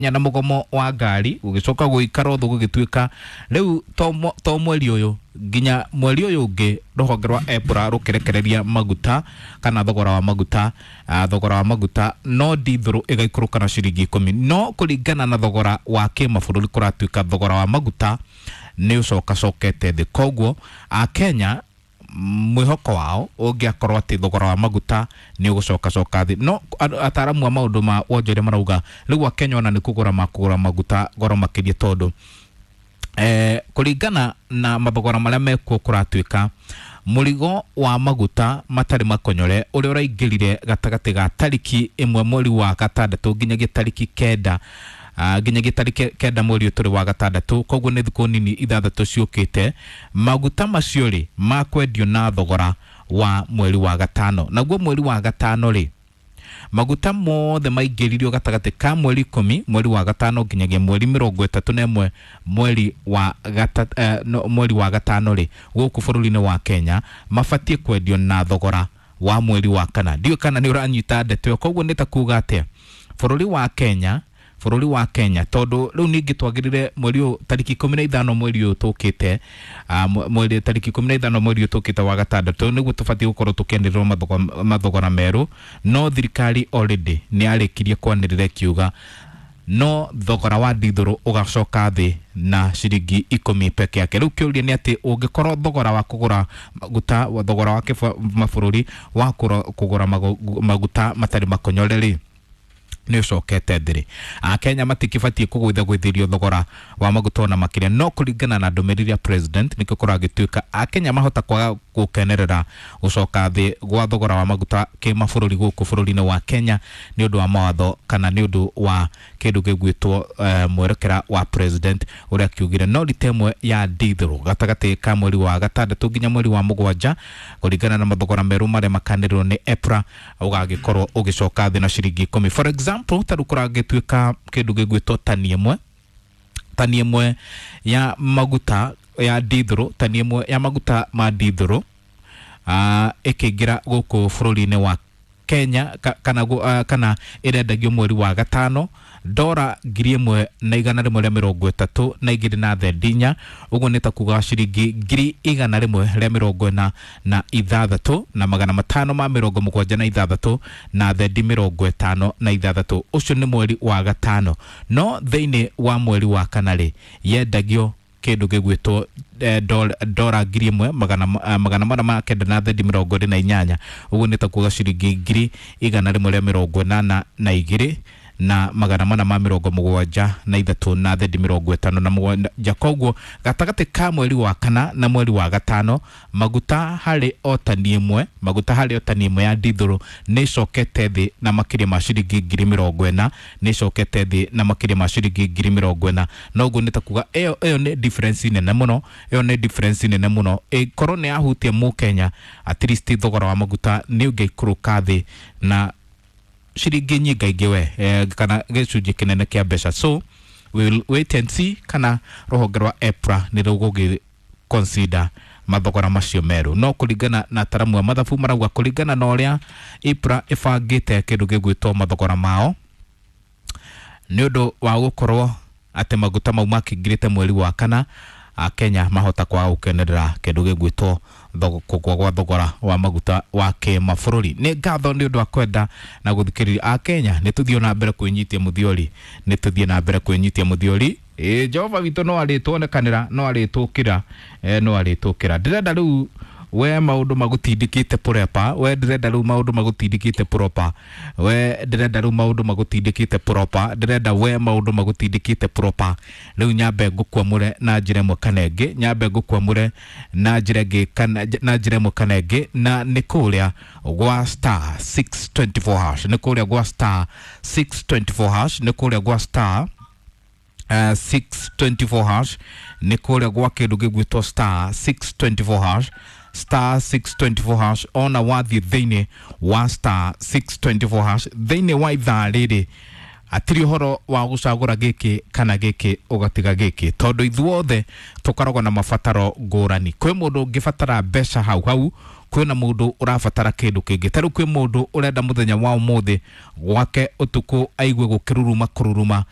Na mũgomo wa ngari gũgĩcoka gũikara ũthũ, gũgĩtuĩka rĩu to mweri ũyũ nginya mweri ũyũ ũngĩ rũhonge rwa EPRA rũkĩrekereria maguta kana thogora wa maguta, thogora wa maguta no ndithũrũ ĩgaikũrũka na ciringi 10, no kũringana na thogora wa kĩmabũrũri kũratuĩka thogora wa maguta nĩ ũcokacokete thĩ. Koguo akenya mwĩhoko wao ũngĩakorwo atĩ thogora wa maguta nĩ ũgũcokacoka thĩ, no ataramu a maũndũ ma wonjoria marauga rĩu akenya ona nĩ kũgũra makũgũra maguta goro makĩria, tondũ kũringana na mathogora marĩa mekuo kũratuĩka mũrigo wa maguta matarĩ makonyore ũrĩa ũraingĩrire gatagatĩ ga tariki 1 mweri wa gatandatũ nginyagia tariki 9, nginyagia tariki 9 mweri ũyũ tũrĩ wa gatandatũ, koguo nĩ thikũ nini 6 ciũkĩte, maguta macio rĩ makwendio na thogora wa mweri wa gatano. Naguo mweri wa gatano rĩ, maguta mothe maingĩririo gatagatĩ ka mweri 10 mweri wa gatano nginyagia mweri 31 mweri wa no, mweri wa gatano rĩ, gũkũ bũrũri-inĩ wa Kenya mabatiĩ kwendio na thogora wa mweri wa kana. Ndiũĩ kana nĩ ũranyita ndeto ĩyo. Koguo nĩ ta kuga atĩa, bũrũri wa Kenya tondũ rĩu ningĩ twagĩrĩre mweri ũyũ tariki 15 mweri ũyũ tũkĩte, mweri tariki 15 mweri ũyũ tũkĩte wa gatandatũ nĩguo tũbatiĩ gũkorwo tũkĩanĩrĩrwo mathogora merũ, no thirikari already nĩ yarĩkirie kwanĩrĩra ĩkiuga no thogora wa ndithũrũ ũgacoka thĩ na ciringi 10 peke yake. Rĩu kĩũria nĩ atĩ ũngĩkorwo thogora wa kũgũra maguta, thogora wa mabũrũri wa kũgũra maguta matarĩ makonyore rĩ nĩ ũcokete thĩ rĩ, akenya matikĩbatiĩ kũgũithagũithĩrio thogora wa maguta ona makĩria. No kũringana na ndũmĩrĩri ya president nĩkĩo kũragĩtuĩka akenya mahota kwaga gũkenerera gũcoka thĩ gwa thogora wa maguta kĩmabũrũri gũkũ bũrũri-inĩ wa Kenya nĩ ũndũ wa mawatho kana nĩ ũndũ wa kĩndũ gĩgwĩtwo mwerekera wa president ũrĩa akiugire no rita ĩmwe ya ndithũrũ gatagatĩ ka mweri wa gatandatũ nginya mweri wa mũgwanja kũringana na mathogora merũ marĩa makanĩrĩrwo nĩ EPRA ũgagĩkorwo ũgĩcoka thĩ na ciringi 10. For example, ta rĩu kũragĩtuĩka kĩndũ gĩgwĩtwo tani ĩmwe ya maguta ya ndithũrũ, tani ĩmwe ya maguta ma ndithũrũ ĩkĩingĩra gũkũ bũrũri-inĩ wa Kenya kana ĩrendagio mweri wa gatano ndora 1,132 na thendi 4, ũguo nĩ ta kuga ciringi 146,576 na thendi 56. Ũcio nĩ mweri wa gatano. No thĩinĩ wa mweri wa kana rĩ, yendagio kĩndũ gĩgwĩtwo ndora 1,409 na thendi 28, ũguo nĩ ta kuga ciringi 182,473 na thendi 57. Koguo gatagatĩ ka mweri wa kana na mweri wa gatano maguta harĩ o tani ĩmwe, maguta harĩ o tani ĩmwe ya ndithũrũ nĩ ĩcokete thĩ na makĩria ma ciringi 40,000, nĩ ĩcokete thĩ na makĩria ma ciringi 40,000. Na ũguo nĩ ta kuga ĩyo nĩ difference nene mũno, ĩyo nĩ difference nene mũno. Ĩkorwo nĩ yahutia mũkenya, at least thogora wa maguta nĩ ũngĩikũrũka thĩ na ciringi nyingaingĩ we kana gĩcunjĩ kĩnene kĩa mbeca. So we will wait and see kana rũhonge rwa EPRA nĩ rũgũgĩ consider mathogora macio merũ. No kũringana na ataramu a mathabu marauga kũringana na ũrĩa EPRA ĩbangĩte kĩndũ gĩgwĩtwo mathogora mao, nĩ ũndũ wa gũkorwo atĩ maguta mau makĩingĩrĩte mweri wa kana, akenya mahota kwaga gũkenerera kĩndũ gĩgwĩtwo kũgũa gwa thogora wa maguta wa kĩmabũrũri. Nĩ ngatho nĩ ũndũ wa kwenda na gũthikĩrĩria. Akenya nĩ tũthiĩ na mbere kwĩnyitia mũthiori, nĩ tũthiĩ na mbere kwĩnyitia mũthiori. Ĩ Jehova witũ no arĩtuonekanĩra, no arĩtũkĩra, no arĩtũkĩra. Ndĩrenda rĩu we maũndũ magũtindĩkĩte proper, we ndĩrenda rĩu maũndũ magũtindĩkĩte proper, we ndĩrenda rĩu maũndũ magũtindĩkĩte proper, ndĩrenda we maũndũ magũtindĩkĩte proper. Rĩu nyambe ngũkwamũre na njĩra ĩmwe kana ĩngĩ, nyambe ngũkwamũre na njĩra ĩngĩ kana na njĩra ĩmwe kana ĩngĩ, na nĩ kũrĩa gwa *624#, nĩ kũrĩa gwa *624#, nĩ kũrĩa gwa *624#, nĩ kũrĩa gwa kĩndũ gĩgwĩtwo *624#, *624#. Ona wathiĩ thĩinĩ wa *624# thĩinĩ wa ithaa rĩrĩ atirĩ ũhoro wa gũcagũra gĩkĩ kana gĩkĩ ũgatiga gĩkĩ, tondũ ithuothe tũkoragwo na mabataro ngũrani. Kwĩ mũndũ ũngĩbatara mbeca hau hau. Kwĩna mũndũ ũrabatara kĩndũ kĩngĩ, ta rĩu kwĩ mũndũ ũrenda mũthenya wa ũmũthĩ gwake ũtukũ aigue gũkĩruruma kũruruma.